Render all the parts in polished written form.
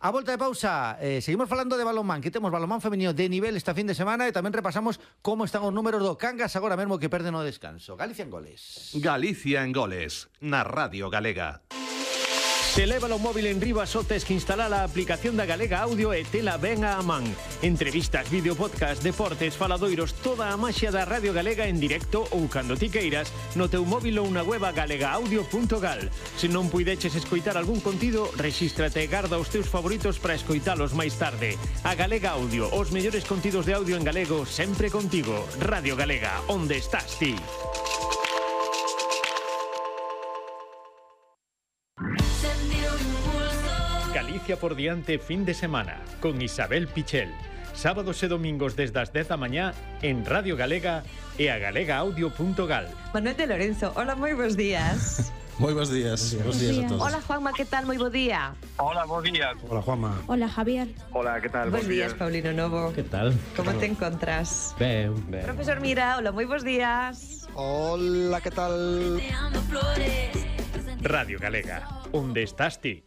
A volta de pausa, seguimos falando de balonmán, que temos balonmán femenino de nivel esta fin de semana e tamén repasamos como están os números do Cangas agora mesmo que perden o descanso. Galicia en goles. Galicia en goles, na Radio Galega. Se leva o móvil en riba só tes que instalar a aplicación da Galega Audio e tela ben a man. Entrevistas, vídeo, podcast, deportes, faladoiros, toda a maxia da Radio Galega en directo ou cando ti queiras no teu móvil ou na web galegaaudio.gal. Se non puideches escoitar algún contido, rexístrate e garda os teus favoritos para escoitalos máis tarde. A Galega Audio, os mellores contidos de audio en galego sempre contigo. Radio Galega, onde estás ti? Galicia por diante fin de semana con Isabel Pichel. Sábados e domingos desde as 10 da mañá en Radio Galega e a galegaaudio.gal. Manuel de Lorenzo, hola, moi bons días. Moi bons días. Bons días a todos. Hola, Juanma, que tal? Moi bo día. Hola, bons días. Hola, Juanma. Hola, Javier. Hola, que tal? Bons días, Paulino Novo. Que tal? Como te encontras? Ben. Profesor Mira, hola, moi bons días. Hola, que tal? Radio Galega, onde estás ti?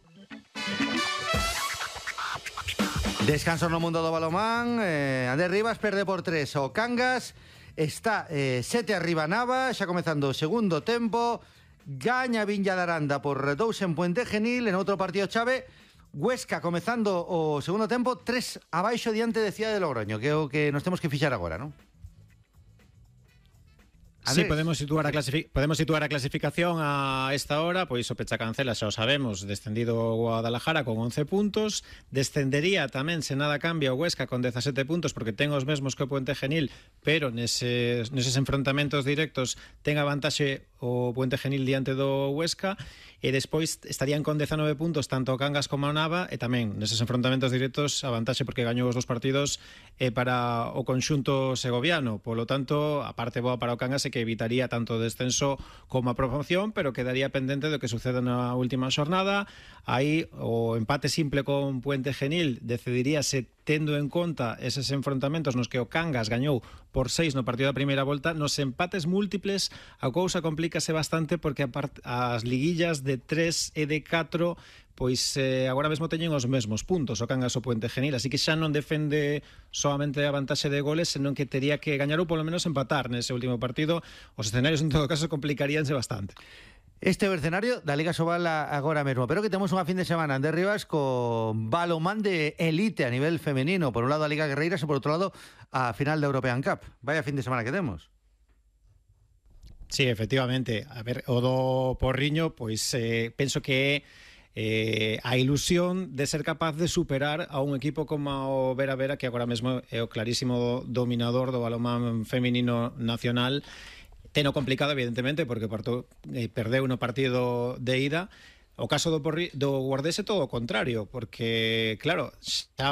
Descanso no mundo do balonmán. Andrés Rivas perde por 3 o Cangas. Está 7 arriba Nava, xa comezando o segundo tempo. Gaña Viña de Aranda por 2 en Puente Genil. En outro partido chave, Huesca comezando o segundo tempo 3 abaixo diante de Cidade de Logroño, que é o que nos temos que fixar agora, non? Sí, podemos situar a clasificación a esta hora, pois o Pechacancela xa o sabemos, descendido o Guadalajara con 11 puntos, descendería tamén, se nada cambia, o Huesca con 17 puntos, porque ten os mesmos que o Puente Genil, pero neses enfrontamentos directos ten a vantaxe o Puente Genil diante do Huesca, e despois estarían con 19 puntos tanto o Cangas como o Nava, e tamén neses enfrontamentos directos a vantaxe porque gañou os dos partidos para o conxunto segoviano, polo tanto a parte boa para o Cangas é que evitaría tanto o descenso como a promoción, pero quedaría pendente do que suceda na última xornada. Aí o empate simple con Puente Genil decidiríase tendo en conta eses enfrontamentos nos que o Cangas gañou por 6 no partido da primeira volta. Nos empates múltiples a cousa complícase bastante porque as liguillas de 3 e de 4 pois agora mesmo teñen os mesmos puntos o Cangas o Puente Genil, así que xa non defende solamente a vantaxe de goles, senón que tería que gañar ou polo menos empatar nese último partido. Os escenarios en todo caso complicaríanse bastante. Este é o escenario da Liga Sobal agora mesmo, pero que temos unha fin de semana, Andrés Rivas, con balonmán de elite a nivel femenino. Por un lado a Liga Guerreiras e por outro lado a final da European Cup. Vaya fin de semana que temos. Sí, efectivamente. A ver, o do Porriño, pois penso que a ilusión de ser capaz de superar a un equipo como o Vera Vera, que agora mesmo é o clarísimo dominador do balonmán feminino nacional. Teno complicado, evidentemente, porque perdeu no partido de ida. O caso do Guardés é todo o contrario, porque, claro, xa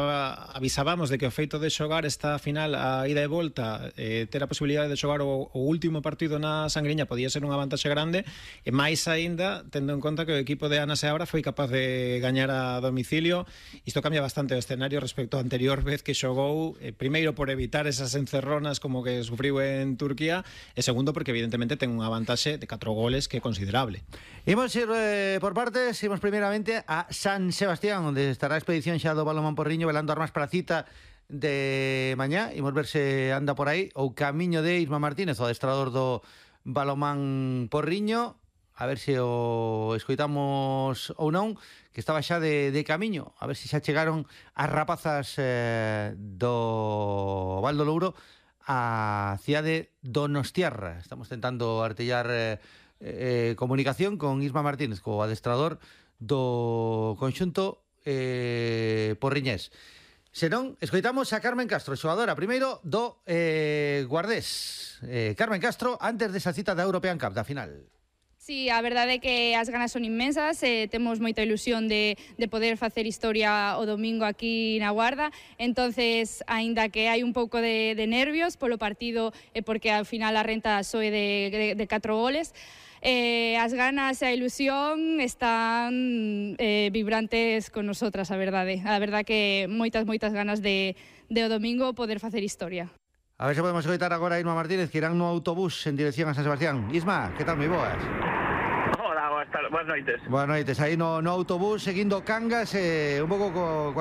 avisábamos de que o feito de xogar esta final a ida e volta, ter a posibilidade de xogar o último partido na Sangriña podía ser unha vantaxe grande, e máis aínda, tendo en conta que o equipo de Ana Seabra foi capaz de gañar a domicilio. Isto cambia bastante o escenario respecto á anterior vez que xogou, primeiro por evitar esas encerronas como que sufriu en Turquía, e segundo porque evidentemente ten unha vantaxe de 4 goles que é considerable. Imos ir por parte. Imos primeiramente a San Sebastián, onde estará a expedición xa do balonmán Porriño velando armas para a cita de mañá. Imos ver se anda por aí ou camiño de Isma Martínez, o adestrador do balonmán Porriño, a ver se o escoitamos ou non, que estaba xa de camiño, a ver se xa chegaron as rapazas do Val do Louro a cidade Donostiarra. Estamos tentando artellar comunicación con Isma Martínez, co adestrador do conxunto porriñés. Se non, escoitamos a Carmen Castro, xogadora primeiro do Guardés. Carmen Castro, antes desa cita da European Cup, da final. Sí, a verdade é que as ganas son inmensas, temos moita ilusión de poder facer historia o domingo aquí na Guarda, entonces, aínda que hai un pouco de nervios polo partido, porque ao final a renta soe de 4 goles, as ganas e a ilusión están vibrantes con nosotras, a verdade. A verdade que moitas ganas de o domingo poder facer historia. A ver se podemos escoitar agora a Isma Martínez, que irán no autobús en dirección a San Sebastián. Isma, que tal, moi boas? Hola, boas noites. Boas noites, aí no autobús seguindo Cangas, un pouco